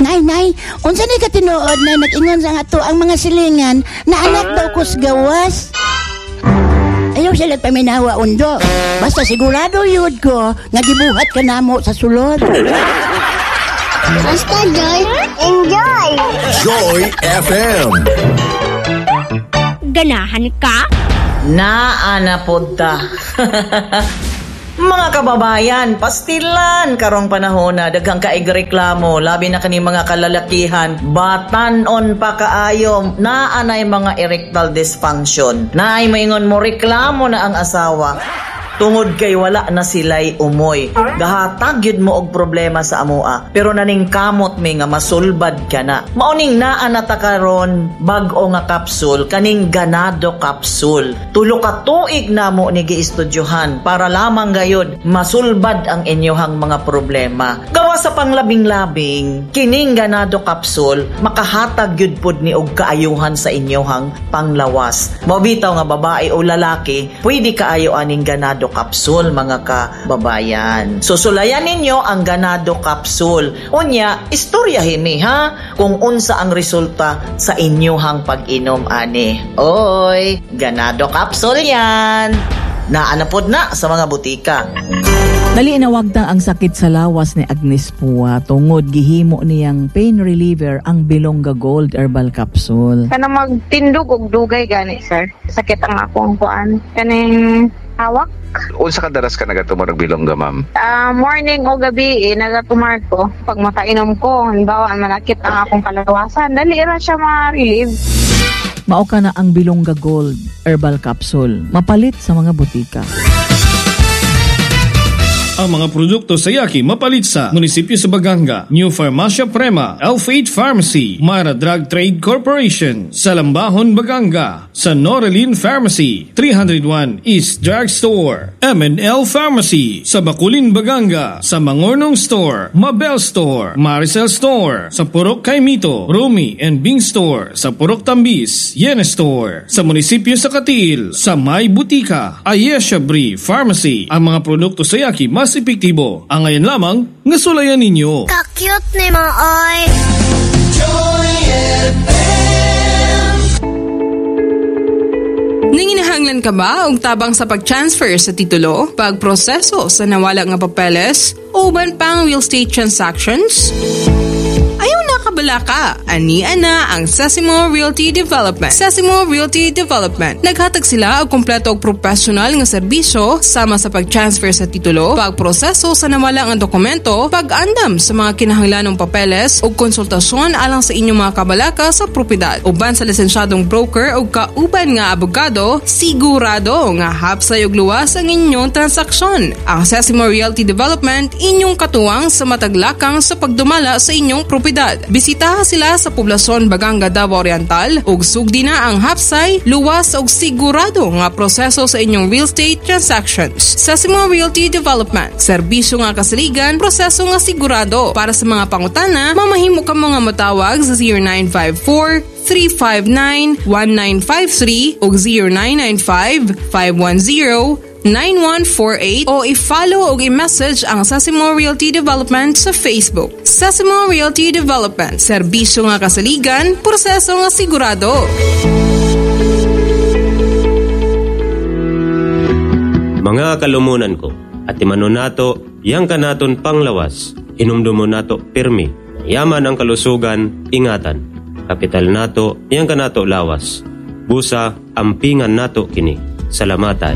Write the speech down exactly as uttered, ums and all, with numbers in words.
Nay, nay, unsa ni katinuod na nag-ingon sa ato ang mga silingan na anak daw kus gawas? Ayaw sila paminawa undo. Basta sigurado yun ko nga gibuhat ka namo sa sulod. Basta Joy, enjoy! Joy F M. Ganahan ka? Naa na pod ta. Mga kababayan, pastilan karong panahon na daghang kaig reklamo, labi na kani mga kalalakihan, batanon pa kaayo, naa nay mga erectile dysfunction. Naay maingon mo reklamo na ang asawa tungod kay wala na sila'y umoy. Gahatag yun mo og problema sa amoa. Pero naning kamot mi nga masulbad ka na. Mauning naa na ta karon bag-o nga kapsul, kaning Ganado Capsule. Tulo ka tuig namo ni giestudyohan para lamang gayod masulbad ang inyohang mga problema. Gawa sa panglabing-labing, kining Ganado Capsule makahatag gyud pud ni og kaayuhan sa inyohang panglawas. Mao bitaw nga babae o lalaki, pwede kaayo aning Ganado Capsule, mga kababayan. So sulayan ninyo ang Ganado Capsule. Unya, istorya himi ha kung unsa ang resulta sa inyohang pag-inom ani. Oy, Ganado Capsule yan. Naa na pod na sa mga butika. Dali nawagtang ang sakit sa lawas ni Agnes Pua tungod gihimo niyang pain reliever ang Bilongga Gold Herbal Capsule. Kana magtindog og dugay gani, sir. Sakit ang akong kuan. Kaning hawak. Unsa kadalas ka nagatumor og Bilongga, ma'am? Ah, morning o gabi eh, nagatumar ko. Pag makainom ko, halimbawa manakit ang akong kalawasan, dali ra siya ma-relieve. Mao ka na ang Bilongga Gold Herbal Capsule. Mapalit sa mga butika. Ang mga produkto sa Yaki mapalit sa munisipyo sa Baganga, New Pharmacia Prema, Elfate Pharmacy, Mara Drug Trade Corporation, sa Lambahon, Baganga, sa Norelin Pharmacy, three hundred one East Drug Store, M and L Pharmacy, sa Baculin, Baganga, sa Mangornong Store, Mabel Store, Maricel Store, sa Purok Kaimito, Rumi and Bing Store, sa Purok Tambis, Yene Store, sa munisipyo sa Cateel, sa May Butika, Ayesha Bri Pharmacy. Ang mga produkto sa Yaki mas epektibo. Ang ngayon lamang, nga sulayan ninyo. Ka-cute ni mo, oy! Joy F M. Nanginahanglan ka ba og tabang sa pag-transfer sa titulo, pagproseso sa nawala nga papeles, o uban pang real estate transactions? Ayaw na kabalaka. Ani ana ang Sesimo Realty Development. Sesimo Realty Development. Naghatag sila og kompleto og professional nga serbisyo sama sa pag-transfer sa titulo, pagproseso sa nawala nga dokumento, pag-andam sa mga kinahanglanong papeles ug konsultasyon alang sa inyong mga kabalaka sa propiedad. Uban sa lisensyadong broker ug kauban nga abogado, sigurado nga hapsay ug luwas ang inyong transaksyon. Ang Sesimo Realty Development, inyong katuwang sa mataglakang sa pagdumala sa inyong propiedad. Bisitaha sila sa poblasyon Baganga, Davao Oriental ug sugdi na ang hapsay, luwas ug sigurado nga proseso sa inyong real estate transactions. Sesimo Realty Development, serbisyo nga kasaligan, proseso nga sigurado. Para sa mga pangutana, mamahimo ka mga matawag sa zero nine five four, three five nine, one nine five three o zero nine nine five, five one zero, nine one four eight o i-follow o i-message ang Sesimo Realty Development sa Facebook. Sesimo Realty Development, serbisyo nga kasaligan, proseso nga sigurado. Mga kalumunan ko, at imanon nato, yang kanaton panglawas, inumdumo nato pirmi, yaman ang kalusugan, ingatan. Kapital nato, yang kanato lawas. Busa, ampingan nato kini. Salamatay.